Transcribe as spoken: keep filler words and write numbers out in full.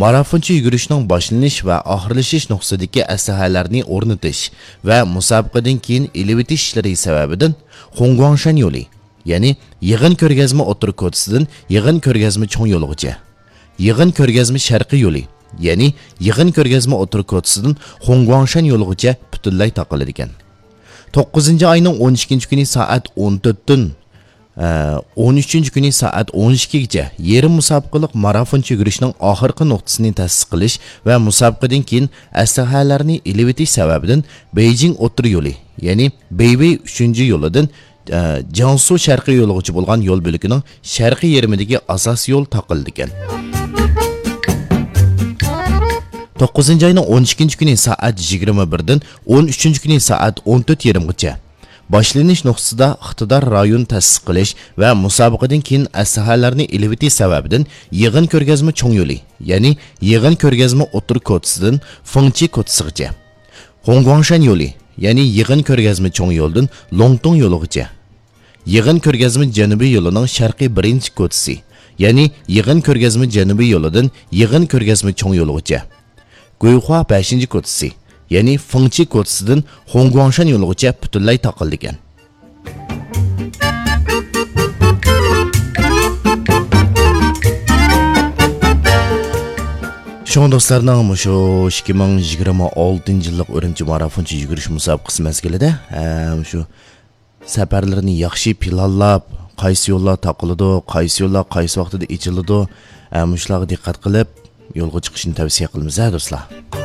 مارافونچە يۈگۈرۈشنىڭ باشلىنىش ۋە ئاخىرلىشىش نۇقتىسىدىكى ئەسلىھەلەرنى ئورنىتىش ۋە مۇسابىقىدىن كېيىن ئېلىۋېتىش ئىشلىرى سەۋەبىدىن خۇڭگۇاڭشەن يولى، يەنى يىغىن كۆرگەزمە ئوتتۇرا كوچىسىدىن يىغىن كۆرگەزمە چوڭ يولىغىچە، يىغىن كۆرگەزمە شەرقىي يولى، يەنى يىغىن كۆرگەزمە ئوتتۇرا كوچىسىدىن خۇڭگۇاڭشەن يولىغىچە پۈتۈنلەي تاقىلىدىكەن. توققۇزىنچى ئاينىڭ ئون ئىككىنچى كۈنى سائەت ئون تۆتتىن، ئە، ئون ئۈچىنچى كۈنى سائەت ئون ئىككىگىچە يېرىم مۇسابىقىلىق مارافونچە يۈگۈرۈشنىڭ ئاخىرقى نۇقتىسىنى تەسىس قىلىش ۋە مۇسابىقىدىن كېيىن ئەسلىھەلەرنى ئېلىۋېتىش سەۋەبىدىن بېيجىڭ ئوتتۇرا يولى، يەنى بېيۋېي ئۈچىنچى يولىدىن، ئە، جياڭسۇ شەرقىي يولىغىچە بولغان يول بۆلىكىنىڭ شەرقىي يېرىمىدىكى ئاساسىي يول تاقىلىدىكەن. توققۇزىنچى ئاينىڭ ئون ئىككىنچى كۈنى سائەت يىگىرمە بىردىن ئون ئۈچىنچى كۈنى سائەت ئون تۆت يېرىمغىچە باشلىنىش نۇقتىسىدا ئىقتىدار رايون تەسىس قىلىش ۋە مۇسابىقىدىن كېيىن ئەسلىھەلەرنى ئېلىۋېتىش سەۋەبىدىن يىغىن كۆرگەزمە چوڭ يولى، يەنى يىغىن كۆرگەزمە ئوتتۇرا كوچىسىدىن فېڭچى كوچىسىغىچە، خۇڭگۇاڭشەن يولى، يەنى يىغىن كۆرگەزمە چوڭ يولىدىن لوڭتۇڭ يولىغىچە، يىغىن كۆرگەزمە جەنۇبىي يولىنىڭ شەرقىي بىرىنچى كوچىسى، يەنى يىغىن كۆرگەزمە جەنۇبىي يولىدىن يىغىن كۆرگەزمە چوڭ يولىغىچە، گۇيخۇا بەشىنچى كوچىسى، يەنى فېڭچى كوچىسىدىن خۇڭگۇاڭشەن يولىغىچە پۈتۈنلەي تاقىلىدىكەن. شۇڭا دوستلارنىڭ مۇشۇ ئىككى مىڭ يىگىرمە ئالتىنچى يىللىق ئۈرۈمچى مارافونچە يۈگۈرۈش مۇسابىقىسى مەزگىلىدە، ئە، مۇشۇ سەپەرلىرىنى ياخشى پىلانلاپ، قايسى يوللار تاقىلىدۇ، قايسى يوللار قايسى ۋاقتىدا ئېچىلىدۇ، ئە، مۇشۇلارغا دىققەت قىلىپ يولغا چىقىشنى تەۋسىيە قىلىمىز، ھە، دوستلار.